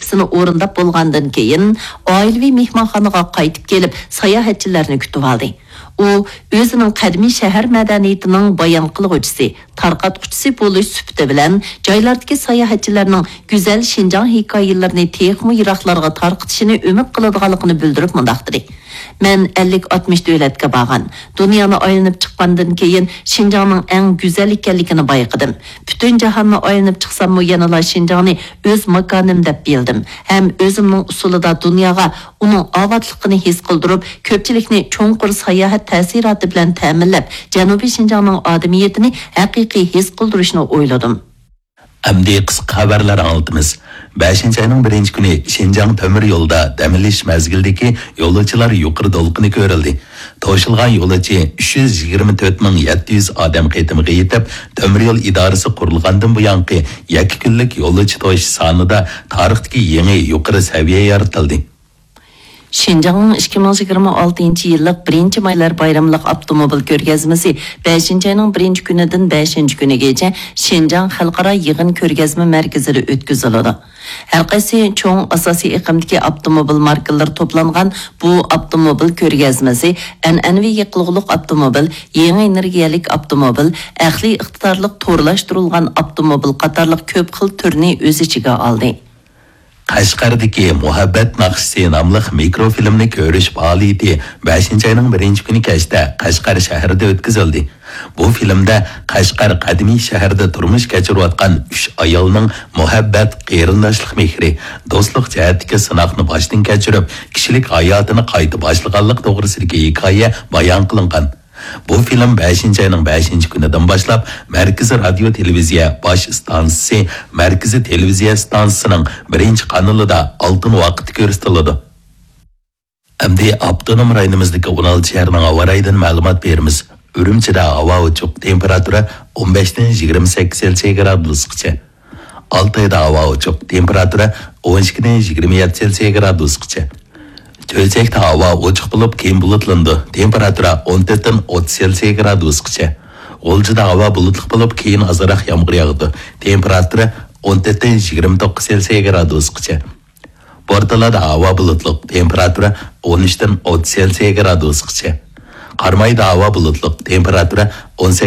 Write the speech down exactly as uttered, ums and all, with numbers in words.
ۋەزىپىسىنى ئورۇنداپ بولغاندىن كېيىن، ئائىلىۋى مېھمانخانىغا قايتىپ كېلىپ، ساياھەتچىلەرنى كۈتۈۋالدى. ئۇ ئۆزىنىڭ قەدىمىي شەھەر مەدەنىيىتىنىڭ بايان قىلغۇچىسى، تارقاتقۇچىسى بولۇش سۈپىتى بىلەن، جايلاردىكى ساياھەتچىلەرنىڭ گۈزەل شىنجاڭ ھېكايىلىرىنى تېخىمۇ يىراقلارغا تارقىتىشىنى ئۈمىد قىلىدىغانلىقىنى بىلدۈرۈپ مۇنداق دېدى: مەن ئەللىك ئاتمىش دۆلەتكە بارغان، دۇنيانى ئايلىنىپ چىققاندىن كېيىن، شىنجاڭنىڭ ئەڭ گۈزەل ئىكەنلىكىنى بايقىدىم. پۈتۈن جاھاننى ئايلىنىپ چىقساممۇ، يەنىلا شىنجاڭنى ئۆز ماكانىم دەپ بىلدىم ھەم ئۆزۈمنىڭ ئۇسۇلىدا دۇنياغا ئۇنىڭ ئاۋاتلىقىنى ھېس قىلدۇرۇپ، كۆپچىلىكنى چوڭقۇر ساياھەت تەسىراتى بىلەن تەمىنلەپ، جەنۇبىي شىنجاڭنىڭ ئادىمىيىتىنى ھەقىقىي ھېس قىلدۇرۇشنى ئويلىدىم. ئەمدى قىسقا خەۋەرلەر ئاڭلىتىمىز. بەشىنچى ئاينىڭ بىرىنچى كۈنى شىنجاڭ تۆمۈر يولىدا دەم ئېلىش مەزگىلىدىكى يولۇچىلار يۇقىرى دولقۇنى كۆرۈلدى. توشۇلغان يولۇچى ئۈچ يۈز يىگىرمە تۆت مىڭ يەتتە يۈز ئادەم قېتىمىغا يېتىپ، تۆمۈر يول ئىدارىسى قۇرۇلغاندىن بۇيانقى يەككە كۈنلۈك يولۇچى توشۇش سانىدا تارىختىكى يېڭى يۇقىرى سەۋىيە يارىتىلدى. شىنجاڭنىڭ ئىككى مىڭ يىگىرمە ئالتىنچى يىللىق بىرىنچى مايلار بايراملىق ئاپتوموبىل كۆرگەزمىسى بەشىنچى ئاينىڭ بىرىنچى كۈنىدىن بەشىنچى كۈنىگىچە شىنجاڭ خەلقئارا يىغىن كۆرگەزمە مەركىزىدە ئۆتكۈزۈلىدۇ. ھەر قايسى چوڭ ئاساسىي ئېقىمدىكى ئاپتوموبىل ماركىلىرى توپلانغان بۇ ئاپتوموبىل كۆرگەزمىسى ئەنئەنىۋى يېقىلغۇلۇق ئاپتوموبىل، يېڭى ئېنېرگىيەلىك ئاپتوموبىل، ئەقلىي ئىقتىدارلىق تورلاشتۇرۇلغان ئاپتوموبىل قاتارلىق كۆپ خىل تۈرنى ئۆز ئىچىگە ئالدى. قەشقەردىكى مۇھەببەت ناخشىسى ناملىق مىكروفىلىمنى كۆرۈش پائالىيىتى بەشىنچى ئاينىڭ بىرىنچى كۈنى كەچتە قەشقەر شەھىرىدە ئۆتكۈزۈلدى. بۇ فىلىمدە قەشقەر قەدىمىي شەھىرىدە تۇرمۇش كەچۈرۈۋاتقان ئۈچ ئايالنىڭ مۇھەببەت، قېرىنداشلىق مېھرى، دوستلۇق جەھەتتىكى سىناقنى باشتىن كەچۈرۈپ، كىشىلىك ھاياتىنى قايتا باشلىغانلىق توغرىسىدىكى ھېكايە بايان قىلىنغان. بۇ فىلىم بەشىنچى ئاينىڭ بەشىنچى كۈنىدىن باشلاپ مەركىزىي رادىيو تېلېۋىزىيە باش ئىستانسىسى، مەركىزىي تېلېۋىزىيە ئىستانسىسىنىڭ بىرىنچى قانىلىدا ئالتۇن ۋاقىتتا كۆرسىتىلىدۇ. ئەمدى ئاپتونوم رايونىمىزدىكى ئون ئالتە شەھەرنىڭ ھاۋا رايىدىن مەلۇمات بېرىمىز. ئۈرۈمچىدە ھاۋا ئوچۇق، تېمپېراتۇرا ئون بەشتىن يىگىرمە سەككىز سېلسىيە گرادۇسقىچە. ئالتايدا ھاۋا ئوچۇق، تېمپېراتۇرا ئون ئىككىدىن يىگىرمە يەتتە سېلسىيە گرادۇسقىچە. چۆچەكتە ھاۋا ئوچۇق بولۇپ، كېيىن بۇلۇتلىنىدۇ، تېمپېراتۇرا ئون تۆتتىن ئوتتۇز سېلسىيە گرادۇسقىچە. غۇلجىدا ھاۋا بۇلۇتلۇق بولۇپ، كېيىن ئازراق يامغۇر ياغىدۇ، تېمپېراتۇرا ئون تۆتتىن يىگىرمە توققۇز سېلسىيە گرادۇسقىچە. بورتالادا ھاۋا بۇلۇتلۇق، تېمپېراتۇرا ئون ئۈچتىن ئوتتۇز سېلسىيە گرادۇسقىچە. قارامايدا ھاۋا بۇلۇتلۇق، تېمپېراتۇرا ئون